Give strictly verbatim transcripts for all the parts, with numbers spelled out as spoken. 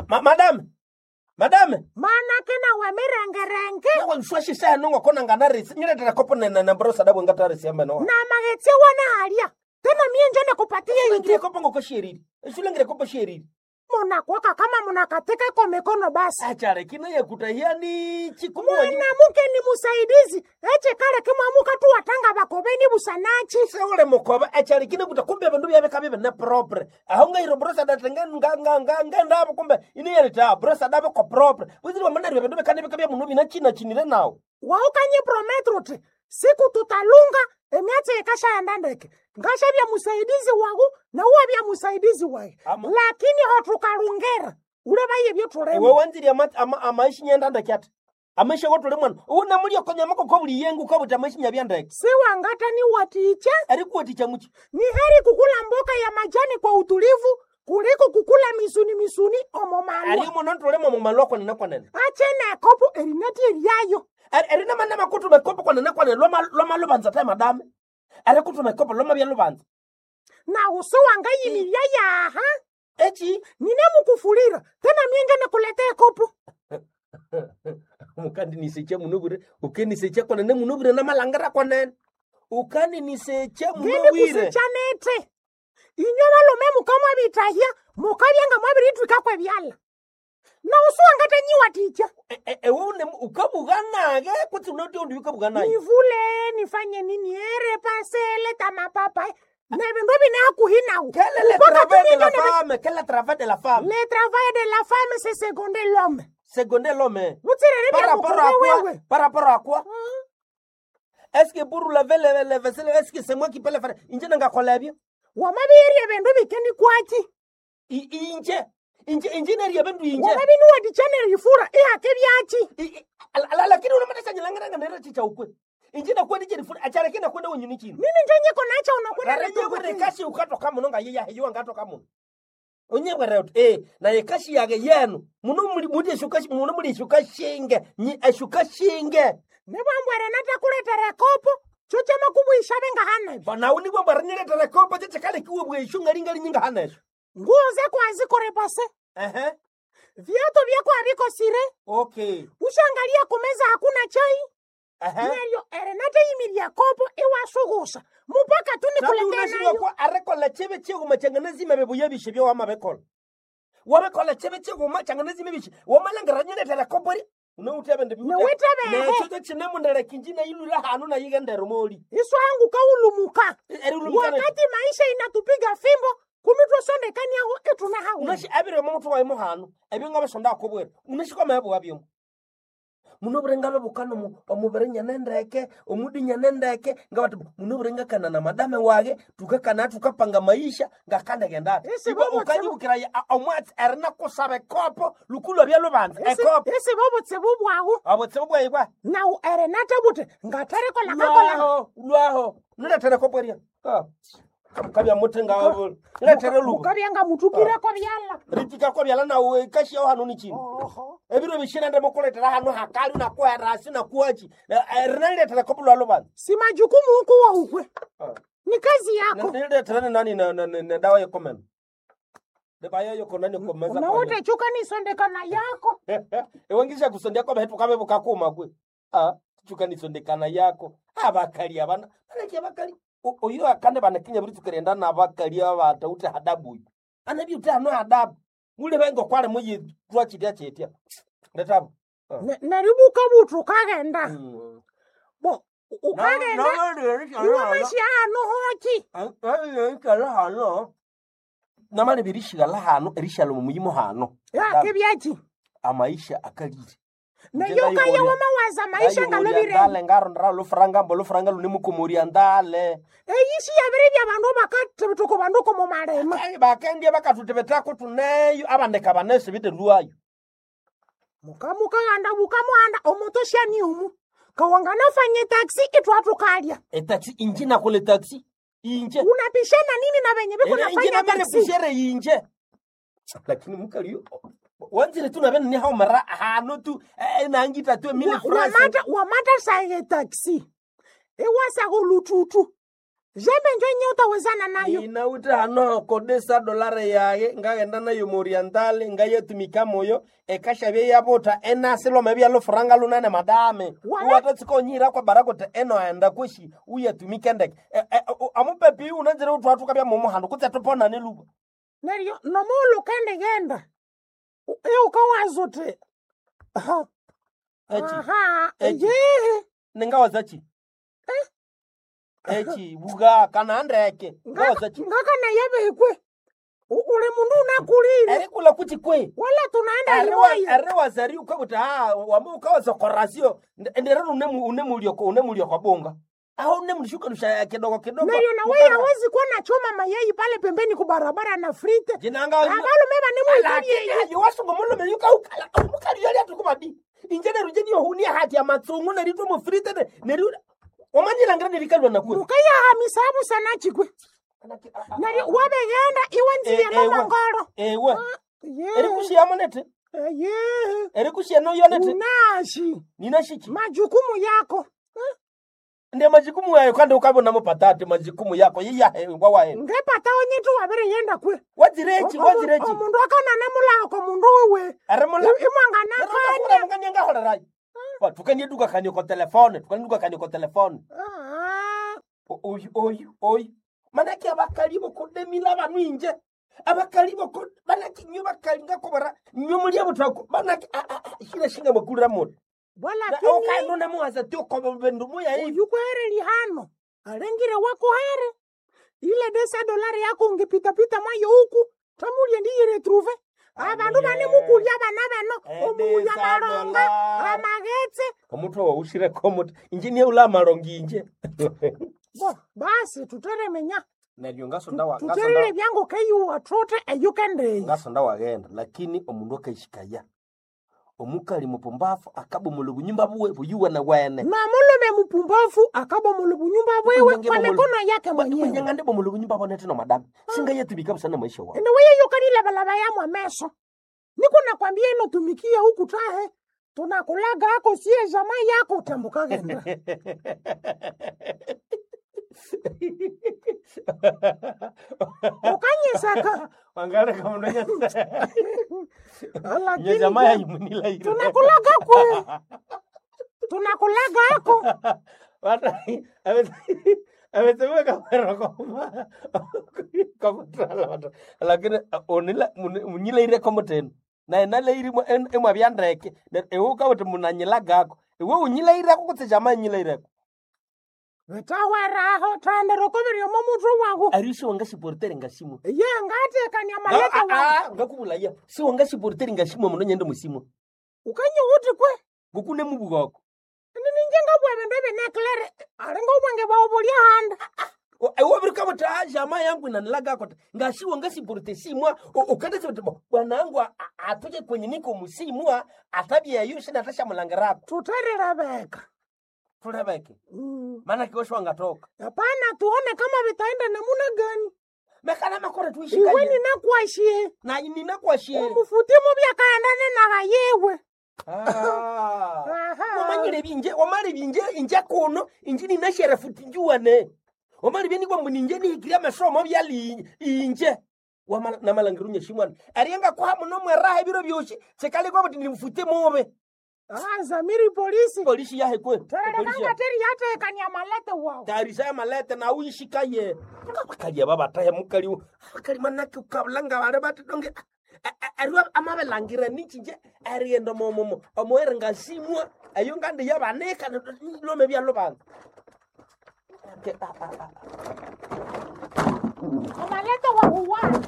Ma, madame madame Manake nawe mirengerenge nawanswashisaya nongoko nanganarisi nyiretera kopo nenembrosa dabwe ngatarisi ameno na maghetse wana halya tena mie njo nikupatie ngire iti kopo ngoko shieriri eshulengire kopo shieriri munakwaka kama munakatika iko mikono basi achare kino yakutahiani chikumuwa mwanamuke ni musaidizi echikale kimwamuka tu watanga bakobeni busanachi seule mukoba achare kino kuta kumbe bindu byabeka bibe ne propre aho ngairo brosa datenga nga nga nga nga ndabo kumbe ini yerita brosa dabe ko propre buziri wamanari bindu bekane bikabya muno bina china chinire nawo waukanye prometro ti siku tutalunga emyatsi ikashaenda ndeke ngashavya musaidizi wagu na uwavya musaidizi wae Ama- lakini hotukalungera ule vaye iwe vyotulema wanziri ama ama amaishi nyenda ndeke amaishi gotule mwana una mulio konyama koko buli yengu kabuta amaishi nyabya ndeke siwangatani waticha arikuwaticha muchi ni heri kukula mboka ya majani kwa utulivu kuliko kukula misuni misuni omo ari malwa muno ntulemo mumalwa kwanene kwanene achene ekopo erinati eryayo eri namanama kutuma ekopo kwanene kwanene lwama lwama lubanza ta madame ari kutuma ekopo lwama bya lubanza na usiwangayimilya yaha echi ninemukufulira tena mienje nikuletea ekopo mukandinisecha muno bure ukenisecha kwanene muno bure namalangira kwanene ukaninisecha muno ngende bwire kusichanete inywe balume mukamwabitahya mukabyanga mwabiritwikakwe byala na usiwangatanyiwa ticha E- e- ewe une ukabuganage kutsi unoti undi ukabuganaye nivule nifanye nini ere pasele tamapapai na vindu vine hakuhi nawo Quel est le Mpaka travail de la tuninge ne- femme? Quel est le travail de la femme? le travail de la femme c'est seconder l'homme Seconder l'homme. vutsirere Par vya rapport à mukove quoi? wewe Par rapport à quoi? Est-ce que pour laver les, les vaisselles, est-ce que c'est moi qui peux le faire? Inje nangakola ebyo. wamavirye vindu vikeni kwachi I- Inje. Inje inje nerya bindu inje. wamavinuwatichanere ifura ihake vyachi I- i- ala- ala- Lakini unamatasa nyilangana nera chicha ukwe. Inje nakwenda je rifuna achara kina kwenda wenyuni chino. nini njenyiko nacha unakwenda Rareje netukuti. kashi ukatoka muno nga yeya hiyo ngatoka muno. Onyebwere uti eh na yekashi yage yenu. Muno muli mudi eshuka muno muli eshuka shinge. Nyi eshuka shinge. nivambwere natakuletera kopo cho chamakuvuisha vengahanavyo Bana unibwa barinyiretera kopo chechakale kiwe bweshu ngalingali nyinga hanesho. nguo zako hazikorepase Ehe. viatu vyako havikosire Okay. ushangalia kumeza hakuna chai Ehe. neryo erenateyimiria kopo iwasughusa mupaka tu nikuletee Natunashirwa nayo kwa arekola chebe cheguma changanazima bebuya bishe byo wamabekola. Wabekola chebe cheguma changanazima bishe. Wamalangira kopori. Unoutebe ndi Niwitebehe. Necho chinemundere kinjina ilula hanu na yigendero moli. iswangu kaulumuka Eri ulumukana. wakati maisha inatupiga fimbo kumitwasondekaniaho ituna hawe Unashi abire mu waimo hanu. Ebyo ngabasonda akobwera. Unashikwa mebo wabyo. Muno burenga bukano mu omubere nyanendeke, omudi nyanendeke, ngabati muno burenga kana na madame wage, tukakana tukapanga maisha ngakandegenda. Ese Ibo bobo ukanyibukira omwatsi erina kusaba ekopo lukulwa byalobanza ekopo. isi bobutsibu bwawu Abotse bwaibwa. nawu erenata buti ngatherekola kakola Lwaho, lwaho. Nilethere ekopo eria. Ah. Kabya mutenga wabo. Nilethere luko. mukabyanga mutukireko byala Ritika kwa byala nawe kashi yaho hanu ni chini. oho Ebiro bishina ndemo kuletera hanu hakali unakuwa rasi na kuachi. Rinaliletera kopo lwalo banza. si majukumu huku waukwe ni kazi yako Niletera ni nani na na na- na dawa yokomena. Deba yoyo nani komeza. unawute chuka nisondekana yako Ewangisha kusondia kwa betu kabe bukakuma kwe. Ah, chuka nisondekana yako. Abakali abana. Balaki abakali. O- Oyo akande banakinya buri tukerenda na abakali abata ute hadabu. uyu. Anabi ute hano hadabu. Mule bengo kwale muyi twa chitia chitia. Letabo. Ah. Ne- neribuka butu ukagenda Mm. bo ukagenda iwe mashi ano hoki hano namali birishigala hano erishalo mumuyimo hano yake byachi amaisha akalire neyo kaya wamawaza maisha ngalobirene ndale ngarondera lufuranga mbo lufuranga lune mukomoria ndale eyishi yabiri bya bandu bakatebetoko bandu komo malema Ai, bakendie bakatutebetako tuneyo abandeka banese bite lwayo mukamukaganda bukamuhanda omotoshani umu kawanganafanye taxi itwatukalya etaxi inje nakole taxi inje unapishana nini na venye viko inje nafanya taxi namerekushere inje lakini mukali wanzire tu nabene nihaumara hano tu eh, nangita tu mille Wa- francs wamata wamata saye taxi ewasako lututu Jembe njo nye utawezana nayo. Inawite hano kodesa dolare yaye ngaghenda nayo morientale ngayetumika moyo ekashabye yabuta enasi lome byalufuranga lunene madame. Wala- Uwatatsika kwa bara kuti eno aenda kweshi uyetumike ndeke. E- e- o- Amupepi unanzire utwathuka bya mumu handu kutse tuponane luba. Neryo nomuulu kendigenda iukawaza uthi aha, Echi aha Echi. yehe ningawaza chi? Echi buga kana ndeke. Ngawaza chi? ngakanayebekwe uli mundu unakulile Erikula kuchi kwe. wala tunaenda limoya Eriwaza ukakuti ah wama ukawaza korasio ndere unemu unemulioko unemulioko bonga. Aho unemulishuka nusha kidogo kidogo. neryo nawe hawezi kuwa na choma mayai pale pembeni kubarabara na frite Jinanga abalume banemuikolye yowasunga mulume yukaukala omukali yali atukubadi. Inje neru nje niyo hunia hati ya matsungu neritwa mufrite ne neru omanyilangira nerikalwa nakwe. mukayahamisa busana chikwe neryo wabegenda iwe nziye Eh, ewe. nomongolo Ewe. ye Erikushiyamo nete. ye Erikushiya noyo nete. unashi Ninashiki. majukumu yako Eh, Ndiye majukumu yayo kandi ukabona mupatate majukumu yako yiyahe wawahe. ngepata onyetu wabiriyenda kwe Wazirechi wazirechi. omundu akanane mulako mundu wewe Arimula imwanganakanya mukaniangaholerai tukanieduka kani ko telefone tukanieduka kani ko telefone O- oyu oyu oyu manake abakali bokodemila banu inje abakali boko manake nyo bakali ngakobara nyo mulia butako manake shina shinga makulira moto bwalakini okaino namuhaza tiokoba bendu muya hivi uyukuhere lihano alengire wakuhere ile desa dolari yako ungepitapita mwayo huku tamulie ndiyiretruve abandu Amuye. bane mukulya bana bano omuulya Edesa malonga dolari. amagetse omutwe waushireko muti inje niye ula malongi inje bo basi tuteremenya neryo ngasonda wa tuterere byangu keyuwa tute eyukendeyi ngasonda waghenda lakini omundu akaishikaya omukali mupumbafu akabomolha obunyumba buwe buyuwana wene na mulume mupumbavu akabomola bunyumba bwewe Bwenge kwa bomolo- mikono yake mwenyewe mwenyanga ndibomolha obunyumba bonete no madame singayetumika busana maisha wawe ene weye yukanilabalaba yamwe meso niko nakwambia inotumikia huku tahe tunakulaga ako sie jamaa yako utambukagenda ukanyesaka wangaleka mundu Lakini nyejamaa je, yayimunilaire tunakulaga kwe tunakulaga ako avetsewe kamera koma komutala lakini onila munyilaire komutenu naye nalairi emwabya ndeke ewe ukawuthi munanyilagako iwe unyilaireko kutse jama nyilaireko vitaweraho thandero koviri omo muthu waku ari siwangashiportere ngasimwa ye ngatekania maleta waku ngakubulaya siwangashiportere ngasimwa muno nyende musimwa ukanye uti kwe ngokune mubugoko ninje ngabwa bindu ebineklere alinga obwenge bwawu bulya handa wabirikawuthi a jama yangu inanilagako ti ngasiwa ngasiporte simwa ukandasiwuthi bwanangu atoke kwenye niko musimwa atabyeyo sinatashamulangirako tuterilebeka tulebeke Mm. maana kiwesho wangatoka hapana tuone kama vitaenda namuna gani mekana makore iwe tuishikaye ninakwashie na ninakwashie omufutimu byakaendane nagayewe Ah. Aha. wamanyire binje wamali binje inje kuno inje ninashere futi njuwane wamali byeni kwambu ninje nihikiria masomo byali inje wamala namalangiru nyeshimwana arienga kwa muno mweraha ebiro byoshi chekali kwa buti nimfute mube Ah, zamiri polisi polisi yahe kwe polisi terelekanga yahe. teri yatekania malete wawu tarisa ya malete na uishikaye abakali aba batahe mukali abakali manake ukabulanga bale bati donge ariwa amabelangira nichinje arienda momomo omoere ngasimwa ayo ngande yabaneka lome byalo bantu Ke- ah, ah, ah. amalete wawu wana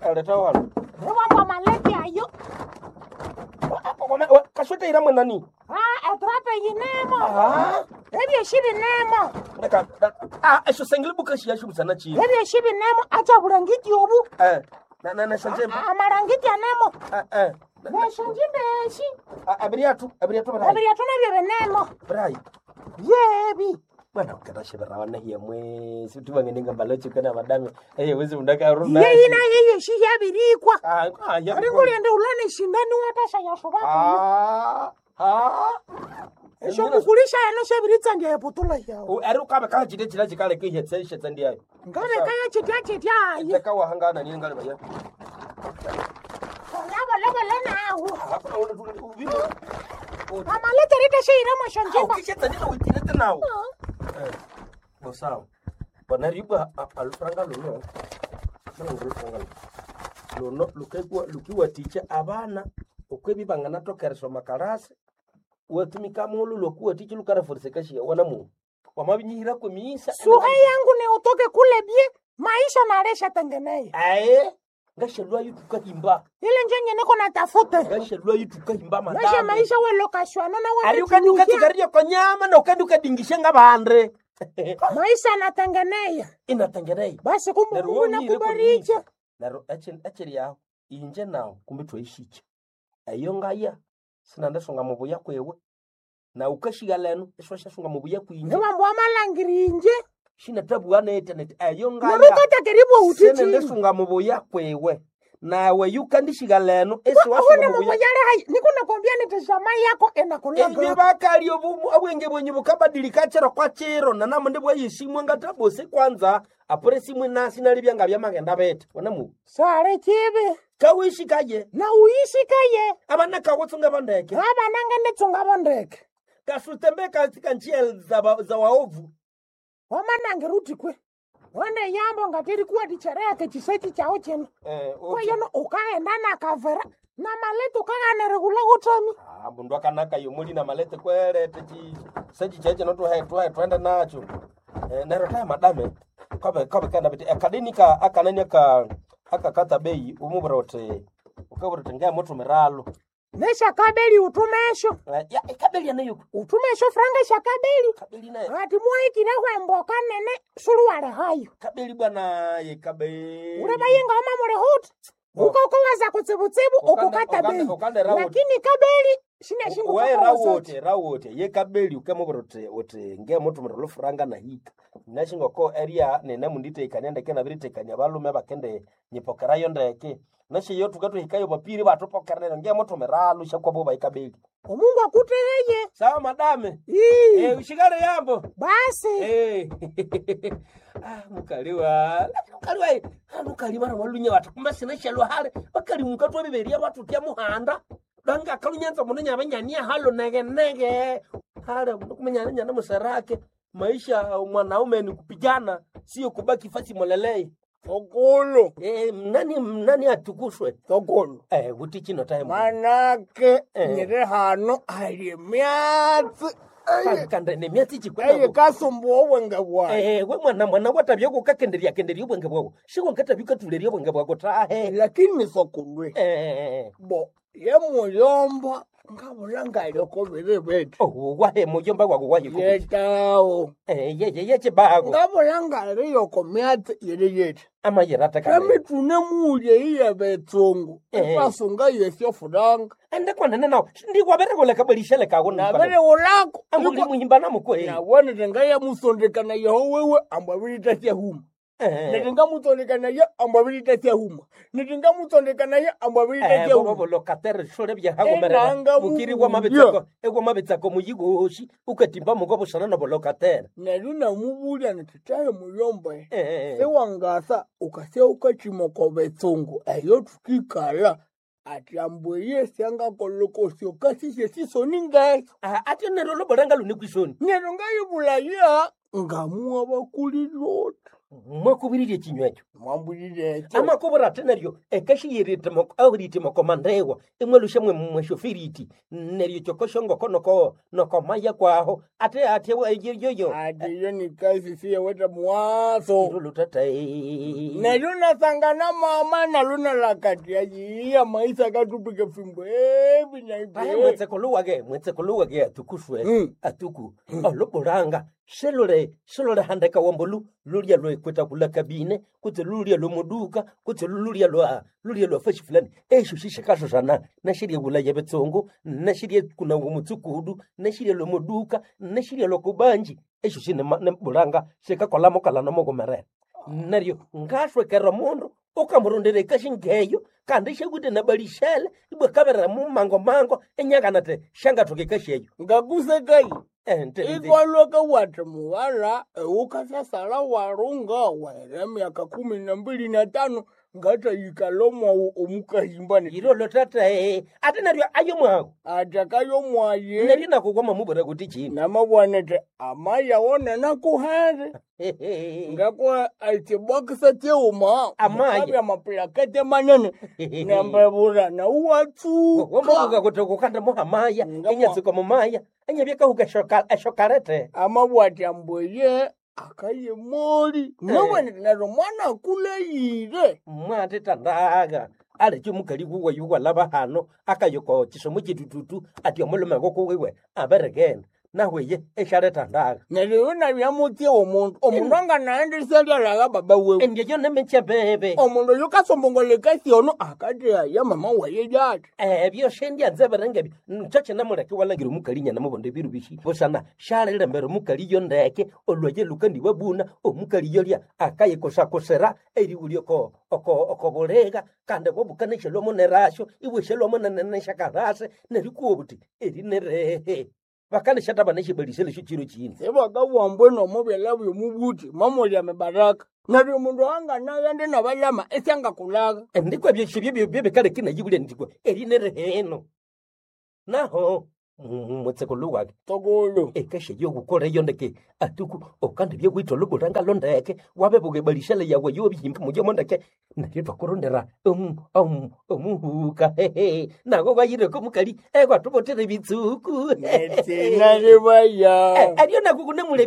Aleta walo iwambo malete ayo kaswete ira mwenani Ah, etrape yinemo Ah, ebyeshi binemo leka ah esho sengile bukashi yasho busana chi ebyeshi binemo acha bulangiti obu eh na na na sanje amalangiti anemo eh eh nesho njimbeshi abiria tu abiria tu brai ebirya tunabyo binemo brai yebi bwana ukatashebera wana hiya mwezi tuvangenenga mbalochi kana madame eh wezi mundaka runa yeyina yeyeshi yabirikwa ah ah ya ringuliende ulane shindani watasha yasubako ah ah Esho mukulisha eno shebiritsandia eputula yawo. Ari ukabe kachite chila chikale kihetsa ishetsa ndiayo. Ngabe kaya chitya chitya ayi. Teka wahangana nini ngale baya. Olabolobolo nawo. Hapana ule tu Amalete rite sheiremo shonjimba. Ukishetsa ndina uitirete nawo. Bosawo. Bona ribwa alufranga luno. Nalungu lufranga luno. Luno lukekwa lukiwaticha abana okwebi banganatokereswa makarasi watumika mulu lokuwaticha lukaraforiseka wana mu wamabinyihira kwemiisa Suhe yangu ni utoke kule bie maisha naresha tengeneye. ae ngashalwa yutukahimba Ile nje niko natafuta. ngashalwa yutukahimba Maisha madame maisha we lokashwana na we. ari ukandi ukatsukarirya konyama na ukandi ukadingisha ngabande Maisha natengeneya. inatengenei Basi kumbe Neryo Mungu wonyire nakubaricha. kwemiisa. Neryo echi- echiri aho inje nawo kumbe twayishikya eyo ngaya sinandisunga mubuya kwiwe na ukashiga leno isiwashasunga mubuya kwinje Niwambu amalangiri inje. shinatabuwa nete nete eyo ngaya Nurukatakeribwa utichini. sinandisunga mubuya kwiwe nawe yukandishiga leno Uhune isiwasunga mubuya mubuyale hai. Niko nakwambia nitazama yako Inje enakulanga. bakali obu- obwenge bwenyu bukabadilika chiro kwa chiro nanamundi bwayisimwe ngatabose kwanza apure simwe nasi nalibya nga byamagenda bete wanamu Sare chibi. kawishikaye Na uishikaye. abana kawutsunga bandeke Aba nange nditsunga bondeke. kasutembe katika njia za, ba- za waovu Wamanange ruti kwe. Wende yambo ngatiri kuwa tichereke chisechi chao chino. eh, Kweyeno ukaenda na kavera. Na maleto ukaganere kula kutami. ah, mundu akanaka yomuli na malete kwerete chi sechi cheche notuhe tuhe twende nacho eh, nero taya madame kabe kabe kana bete akadeni ka akanani aka akakata bei umubura uti ukabura uti ngai mutumiralo Neshakabeli utumesho. Eh, ya ikabeli nayo Utumesho franga shakabeli. kabeli nayo Ati mwaikire hwemboka nene suluwale hayo. kabeli bwana ye kabeli Ureba yenga oma mure huti. Oh. Uko uko kutsibutsibu Ukande- ukukata ukande- bei. ukande rawuti. Lakini kabeli shina shingu we koko rawote rawote ye kabeli ukemubura uti uti nge mutumira lufuranga nahika nashingoko eria nene munditekania ndeke nabiritekania balume bakende nyipokerayo ndeke nashiyo tukatuhikayo bapiri batupokerera nge mutumira lushakwabo baikabeli Omungu akutegeye. sawa madame Ii. eh ushikale yambo Basi. Eh. ah mukaliwa mukaliwa eh. Ah, mukali bana walunya watu kumbe sinashalwa hale bakali mukatwa biberia batutya muhanda danga kalunyanza muno nyabanyania halo nege nege hale kumenya nyana musarake maisha mwanaume ni kupigana sio kubaki fasi molelei Sokolo, eh nani nani atukushwe sokolo. eh uti chino time Manake Eh. nyiri hano hali emyatsi kanda ne myatsi chikwenda eyikasumbuwa obwenge bwayi. Eh, we mwana mwana watabya kukakenderya kenderya obwenge bwako shiko nkatabya ukatulerya obwenge bwako tahe Lakini sokolwe eh bo ye muyomba ngabula ngalyoko biri bithi oh wahe muyomba wako wahe ko yetawo eh ye ye ye chibago ngabula ngaliyoko myatsi yiri yithi amayirata kale emitune mulye iye betsungu Eh. ipasunga yesyofuranga ende kwanene nawo ndiwaberekola kabelishele kako nabiriwulako ambuli muhimba namukwe nabona tingayamusondekana yeho wewe ambwabilitasyahuma eh nitingamutsondekanaye ambwabilitasyahuma nitingamutsondekanaye eh ambwabilitasyahuma bobo lokatere shole bya hagomerera Enanga mukiri wa mubuya. mabetsako egwa mabetsako muyigoshi ukatimba muko bushana na bolokatere neryo namubulya niti tahe muyomba eh sewangasa ukasya ukachimoko betsungu eyo tukikala ati ambweye syangakolokosyo kasisye sisoni ngeso ah ati nero lobolanga lune kwishoni neryo ngayibulaya ngamuwa bakulilota mwakubiririe chinywecho mwambulile ekyo amakobora ate neryo ekashiyiritimoko mandewa imwelusha mwe mweshofiriti neryo chokoshongoko noko nokomaya kwaho ate ate yoyo ati iyo ni kazi siyeweta muwaso lutata neryo nasangana mama nalo nalakatia yiya maisa katupike fimbo evi Paya naivi mwetseko luwage mwetseko luwage atukushwe Mm. atuku oluburanga selule selule handeka wambolu lulya lwekweta kula kabine kutse lulya lwomuduka kutse lulya lwa lulya lwa fashi fulani esho shishakashosana nashirya bulaya betsongo nashirya kuna mutsukudu nashirya lwomuduka nashirya lwakubanji esho shine bulanga shikakola mukala nomukumerera neryo ngashwekera mundu Ukamurondera ekashi ngeyo kandi syawite na balishele ibwa kaberera mumango-mango enyakana ati syangathoka ekashi eyo. Ngakusekai Eh, nte- nte- ikwalwaka wati mughala ewukasasala warunga wahera emyaka kumi na mbili na tano ngatayikala omwawu omukahimba Yirolo tata eh, ate neryo ayo mwawu. atakayo mwaye Neryo nakugwa mubwira kuti chini. namabwanete amaya nanakuhere ngakwa ekibokisa kyeuma Amaya. mukabya amapulakete manene nambebura nauwatsuka Wamabuka kuti kukanda muhamaya, Ngamwa. enyatsuka mumaya, enyabyakahuka eshoka eshokalete. amabwati ambweye akayemoli nabwanete neryo mwana akuleyire Mwate tandaga. Alekyo mukali wuwe yuwalaba hano akayoko chisomo chitututu ati omulume gokuwiwe aberegenda. Nahweye eshalethandaga. neryo yo nabyamutye omundu omundu anganaendisyalyalaga baba wewe Endyeyo nemekyebebe. omundu oyo kasombongolekasi ono akateaya mama waye yati Ebyo shendyanze birengebyo nkyokye namuleke walangira omukali nyana mubonda ebiru bishi busana shalilembera omukali yo ndeke olwaye lukandiwabuna omukali yolya akayikosakosera eriwulya oko oko oko bulega kandi bwobukanishelwamo nerasho ibweshelwamo neneshakarase nerikuwa buti eri nerehe bakanishataba neshibalisele sho chiro chino sebakabwambwe nomubyala byomubuthi mamulya mibaraka neryo omundu anganaghende nabalama esyangakulaka ndikwa byeshibyo byebikaleki nayibulya ndikwa eri nereheno naho mutseko wake tokolo ekasha yokukola eyo ndeke atuku okandi byekwitha olubulanga ndeke wabebuka ebalishele yawe yobihimba muyomo ndeke neryo twakurondera omu- omu- omuhuka hehe nako kwayireko mukali ekwatubotera ebitsuku netsina libaya eryo nako kunemulebya.